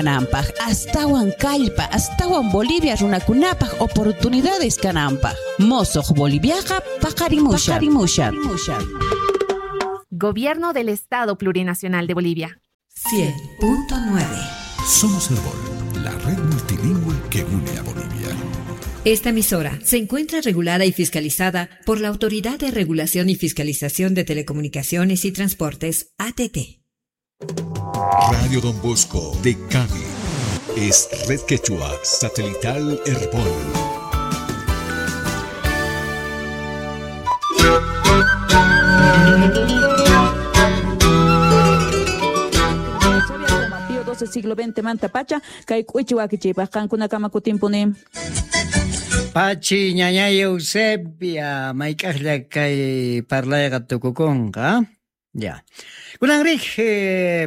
Kananpaj, astawan kallpa, astawan Bolivia runakunapaj oportunidades kananpaj. Mosoj Boliviaqa paqarimushan. Paqarimushan. Gobierno del Estado Plurinacional de Bolivia. 100.9. Somos Herbol, la red multilingüe que une a Bolivia. Esta emisora se encuentra regulada y fiscalizada por la Autoridad de Regulación y Fiscalización de Telecomunicaciones y Transportes, ATT. Radio Don Bosco de Cami es Red Quechua Satelital Herbol. Pío XII siglo XX manta pacha kay k'uchi wakichiypaq qankunakama kutinpuni. Pachi ñañay Eusebia, mayk'aqlla kay parlayqa tukukunqa. Ya. Kunanrik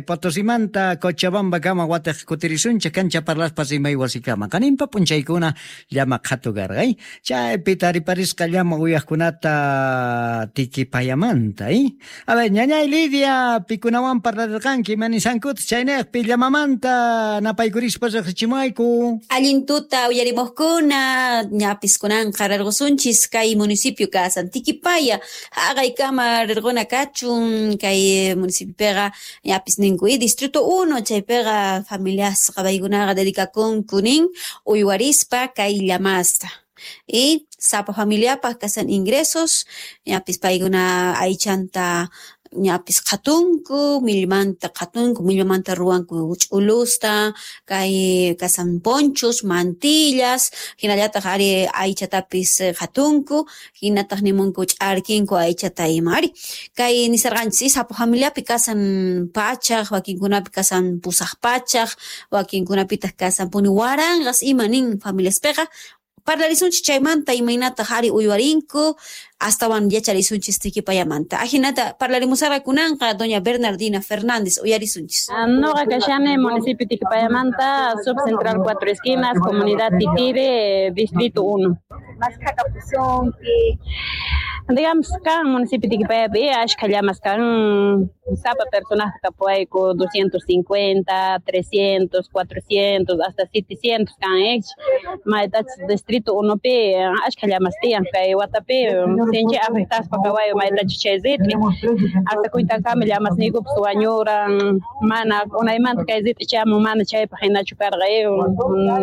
Potosimanta Cochabamba kama watej kutirisunchej kancha parlaspa rimay wasikama. Kaninpa p'unchaykuna llama qhatu karqa, chaypi tariparisqa llama uyaqkunata Tiquipayamanta, A ver, ñañay Lidia, pikunawan parlarirqanki, manisankuta chaynejpi llamamanta napaykurispa riqsichimuwayku. Allin tuta uyarimuqkuna, ñapis kunanqa rirqusunchis kay municipio kasan Tiquipaya, haqaykama rirquna kachun kay municipiopiqa ñapis ninku distrito 1 chaypiqa familiasqa paykunaqa dedicakunku nin uywarispa kay llamasta. Y sapa familiapaq kasan ingresos, ñapis paykuna aychanta ñapis qhatunku, millmanta qhatunku, millmanta ruwanku ch'ulusta, kay kasan ponchos, mantillas, hinallataq ari aychatapis qhatunku, hinataq nimunku ch'arkinku aychata ima ari. Kay nisarqanchis sapa familiapi kasan pachaq, wakinkunapi kasan pusaq pachaq, wakinkunapitaq kasan puni waranqas ima nin familiaspiqa. Parlarisunchis chaymanta imaynataq ari uywarinku, astawan yacharisunchis Tiquipayamanta. Ajinata parlarimusarqa kunanqa doña Bernardina Fernández uyarisunchis. Noqa kashani municipio Tiquipayamanta, subcentral Cuatro Esquinas, comunidad Titire, distrito 1. Digamos, kan municipio Tiquipayapi ashkha llamas kan sapa personaje kapuayku 250, 300, 400, hasta 700 kan ex. Maytach distrito 1 pi ashkha llamas tiyan kay watapi sinchi afectaspa kawayu maytach chay rit'i. Hasta kuytankama llamas niykupis wañuran, mana unaymanta kay rit'i chamun mana chaypaq hinachu karqa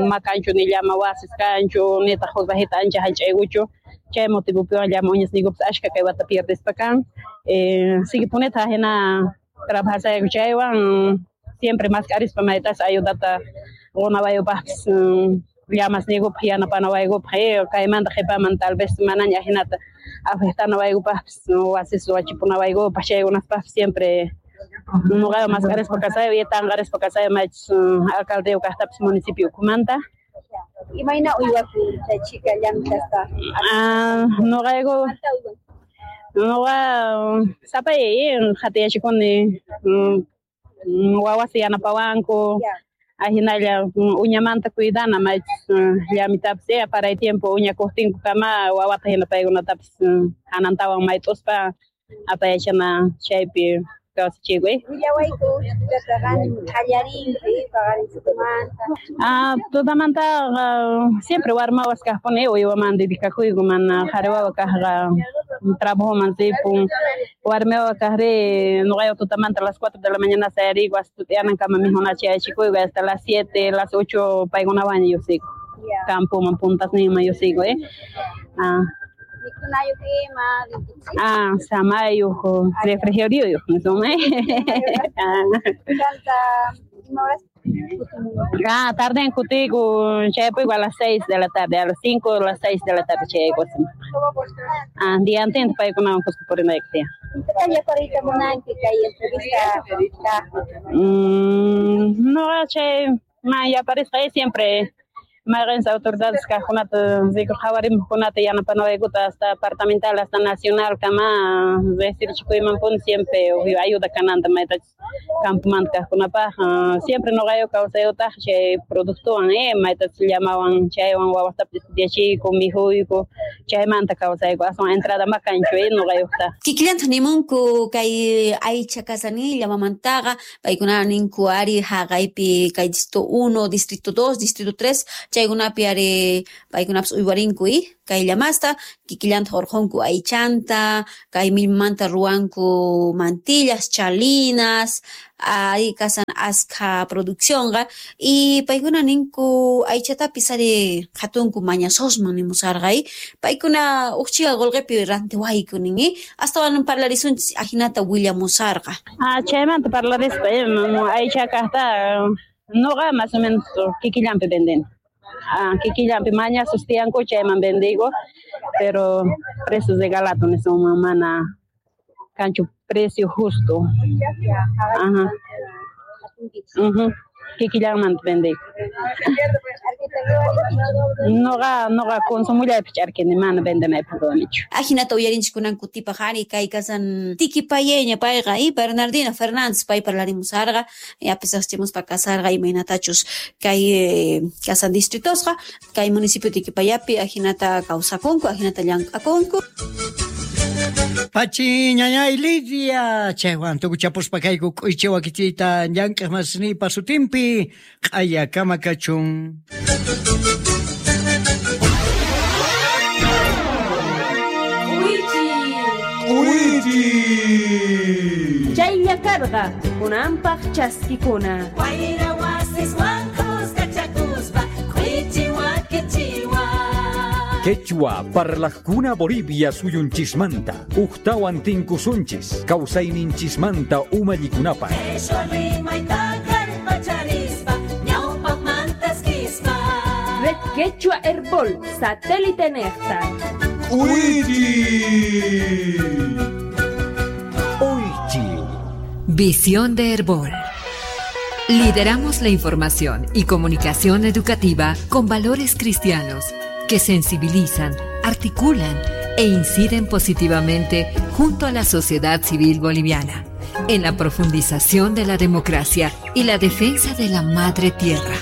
makanchu ni llama wasis kanchu nitaq huk rajita ancha hallch'aykuchu. Chay motivopiwan llama uñas niykupis ashkha kay wata pierdispa kan. Sigue puneta hina trabajasayku chaywan siempre mask'arispa maytas ayudata qunawayupaqpis llamas niykupaq yanapanawaykupaq kaymanta qhipaman tal vez manaña hinata afectanawaykupaqpis wasis wachipunawaykupaq chaykunaspaqpis siempre nuqaqa mask'arispa kasayu y tanqarispa kasayu maychus alcaldeyuq kaqtapis municipio ukhumanta. Imayna uywakun chay chika llamk'aspa? Nuqayku nuqa sapay qhatiyachikuni wawasi yanapawanku ahinalla uñamanta cuidana maychus llamitapis paray tiempo uña kuqtinku kama wawata hina paykunatapis hanantawan mayt'uspa apayachana chaypi kawsachikuy. Willawayku qallarinki paqarin Tutamanta siempre warmawas kaqpuni uywaman dedicakuyku mana qhari wawa kaqqa trabajoman ripun warmi wawa kaqri nuqayqa tutamanta a las 4 de la mañana sayariku hasta tut'iyanankama mikhunata chayachikuyku hasta las 7, las 8 paykunawanña lluqsiyku campoman puntasninman lluqsiyku Mikhunayuq ima Samayuq refrigerioyuq nisun Tarden kutiyku chayapuyku a las 6 de la tarde, a las 5 o las 6 de la tarde chayayku Día antes paykunawan kuska purinayku tiyan. No, chay man yaparisqa siempre Mayqinchis autoridades kaqkunata riku qhawarimuqkunata yanapanawaykuta hasta departamental hasta nacional kama riqsirichikuymanpuni siempre ayuda kananta maytachus campomanta kaqkunapaq siempre nuqayku kawsayutaq chay productowan maytachus llamawan chaywan wawastapis estudiachiyku mikhuyku chaymanta kawsayku aswan entrada ma kanchu nuqayuqta. Kikillantaq nimunku kay aycha kasani llamamantaqa paykuna ninku ari haqaypi kay distrito 1, distrito 2, distrito 3 chaykunapi ari paykunapas uywarinku kay llamasta kikillantaq urqunku aychanta kay millmanta ruwanku mantillas, chalinas ari kasan askha produccionqa y paykuna ninku aychatapis ari qhatunku mañasosman nimusarqa paykuna uqchiqa qullqipi rantiwayku nin astawan parlarisunchis ajinata willamusarqa. Chaymanta parlarispa aycha kaqta nuqa más o menos kikillanpi vendeni. Kikillanpi mañasos tiyanku chayman vendigo, pero precios de galato nisunman mana kanchu precio justo. Ajá. Kikillanmanta vendigo. Nuqa consumullaypi ch'arkini mana vendenaypaq ruwanichu. Ajinata uyarinchis kunan kutipaq ari kay kasan Tiquipayeña payqa Bernardina Fernández pay parlarimusarqa yapis riqsichimuspa kasarqa imaynatachus kay kasan distritosqa kay municipio Tiquipayapi ajinata kawsakunku ajinata llank'akunku. Pachi ñañay Lidia chaywan tukuchapuspa kayku k'uychi wakichiyta llank'aq masinipa sutinpi q'aya kama kachun. Chaylla karqa kunanpaq chaskikuna. Wayra wasiswan kuskachakuspa k'uychi wakichiwan. Quechua parlajkuna Bolivia suyunchismanta ujtawan tinkusunchis kawsayninchismanta umallikunapaq. Qheshwa rimayta kallpacharispa ñawpaqmanta eskispa. Red Quechua Herbol satélite nejta. K'uychi. Oychi. Visión de Herbol. Lideramos la información y comunicación educativa con valores cristianos que sensibilizan, articulan e inciden positivamente junto a la sociedad civil boliviana en la profundización de la democracia y la defensa de la madre tierra.